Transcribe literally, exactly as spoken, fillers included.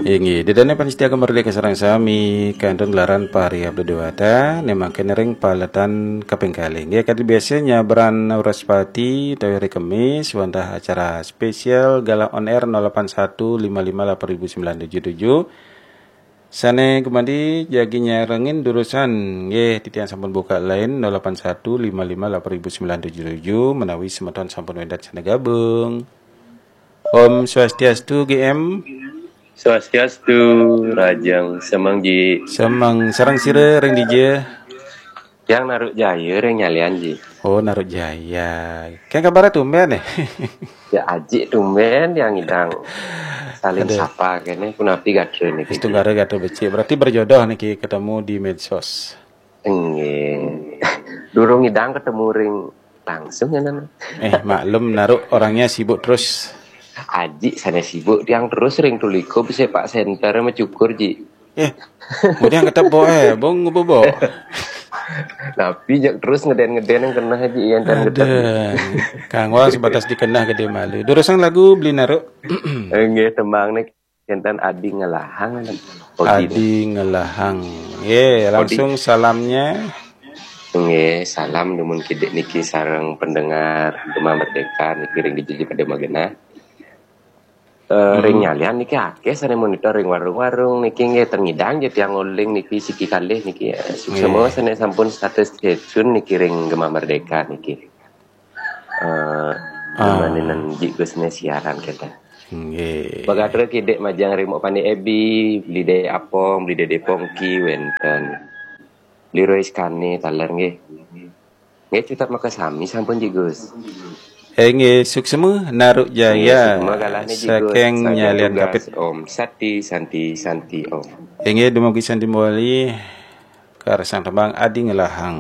Inggih, ida dané pamiarsa Gema Merdeka sareng sami, kantun gelaran Fahri Abdul Dewata, né mangkin ring paletan kaping kalih. Inggih, kadi biasa nyabran Wraspati utawi hari Kemis, wantah acara spesial Galah on Air nol delapan satu lima lima delapan ribu sembilan tujuh tujuh. Sané gumanti jagi nyarengin durusang, inggih, titiang sampun buka line nol delapan satu lima lima delapan ribu sembilan tujuh tujuh, menawi semeton sampun wénten sané gabung. Om Swastiastu, G M. Swastiastu, rahajeng semeng, Ji. Semeng, sareng sira ring dija? Tiang Naruk Jaya ring Nyalian, Ji. Oh, Naruk Jaya. Kén kabaré tumbén, eh? Ya, ajik tumbén tiang ngidang saling Aduh. sapa kéné, punapi gatra niki, Ji? Wis tunggara gatra becik. Berarti berjodoh niki, ketemu di medsos. Inggih. Durung ngidang ketemu ring langsung ya, Nan. Eh, maklum, Naruk orangnya sibuk terus. Ajik sané sibuk tiang terus ring Tulika Sepak Center macukur, Ji. Eh, kemudian ketemu, eh, bong ngububok. Tapi jak terus ngeden-ngeden yang kena, Ji, yang dan ngeden. Aduh, kanggo sebatas dikenah gedé malu. Durusang lagu, Beli Naruk. Inggih, tembang nih. Kénten Adi Ngelahang, Adi Ngelahang. Ye, langsung salamnya. Nggih, salam dumun kidik niki sareng pendengar Gema Merdeka niki ring dija pada magenah. Eh, Hmm. ring Nyalian niki akéh sané monitor ring warung-warung niki nggih, ten ngidang ja tiang nguling niki siki kalih niki, eh, suksma Nggih. sané sampun status stay tune niki ring Gema Merdeka niki. Eh, Ah. Dumaning Ji Gus né siaran kita. Nggih. Bagatra kidik majeng ring Mok Panik Ebi, Beli Dé Apong, Beli Dédé Pongki wénten. Beli Rois Kane taler nggih. Nggih, cutet makasami sampun, Ji Gus. Eh, nggih, suksma, Naruk Jaya. Nggih, suksma galahné, Ji Gus. Saking Saking Nyalian tugas, Kapit. Om Sati, Santi, Santi, Om. Eh, nggih, dumugi Santi Mawali, karsang tembang Adi Ngelahang.